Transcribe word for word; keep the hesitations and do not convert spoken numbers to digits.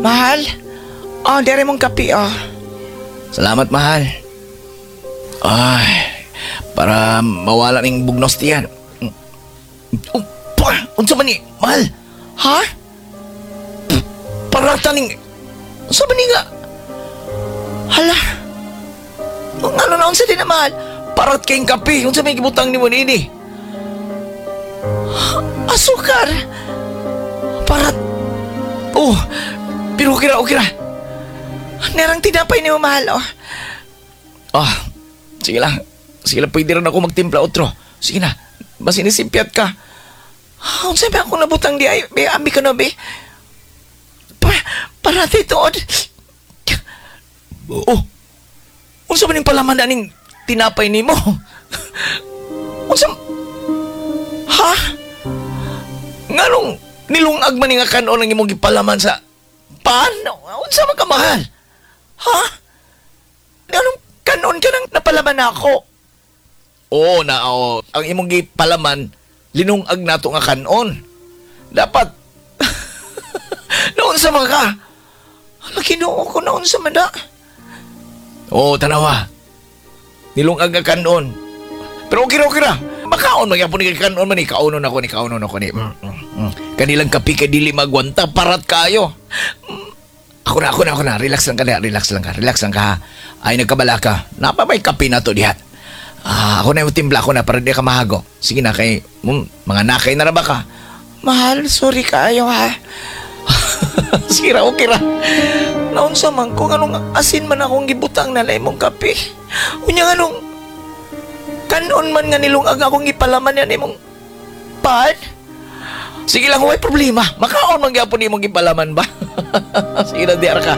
Mahal? Oh, diri mong kape, oh. Salamat, mahal. Ay, para mawala ning bugnos tiyan. Oh, pa, unsa man ni, mahal? Ha? Parata ning, unsa man ni nga? Hala. Ano na unsa din na, mahal? Parat kayong kape, unsa may gibutang nimo niini? Asukar. Parat. Oh, pero okay ra, okay ra. Nerang tinapay ni mahal, oh. Ah, sige lang. Sige lang, pwede rin ako magtimpla otro. Sige na, basin nisimpyat ka. Ah, unsa ba akong nabutang di ay, be, abi ka na, be. Pa, para tuod. Oh, unsa ba ning palaman na ning tinapay nimo? Unsa? Ha? Nganong nilungag man ni nga kanon ang imong gipalaman sa pan? Unsa man ka, mahal? Ha? Nganong kanon ka nang napalaman ako? Oo na, oo. Ang imong gipalaman, linungag nato nga kanon. Dapat, naunsa man ka? Ala, Ginoo ko, naunsa man na. Oo, tanawa. Nilungag nga kanon. Pero okay ra, okay ra. Makaon, magyapon ni kanon man ni. Kaunon ako ni, kaunon ako ni. Mm, mm, mm. Kanilang kape kay dili magwanta, parat kayo. Mm. Ako na, ako na, ako na. Relax lang ka na, relax lang ka, relax lang ka ha. Ay, nagkabala ka. Napa may kape na to diha. Ah, ako na yung timpla ako na para di ka mahago. Sige na kay mm, mga nakay na ra ba ka? Mahal, sorry kaayo ha. Sige ra, okay ra. Naunsa man ko anong asin man akong gibutang na imong kape. Unya nganong kanon man nga nilungag akong gipalaman yan imong pan. Sige lang, way problema. Makaon man gyapon imong gipalaman ba? Sige na, di ka.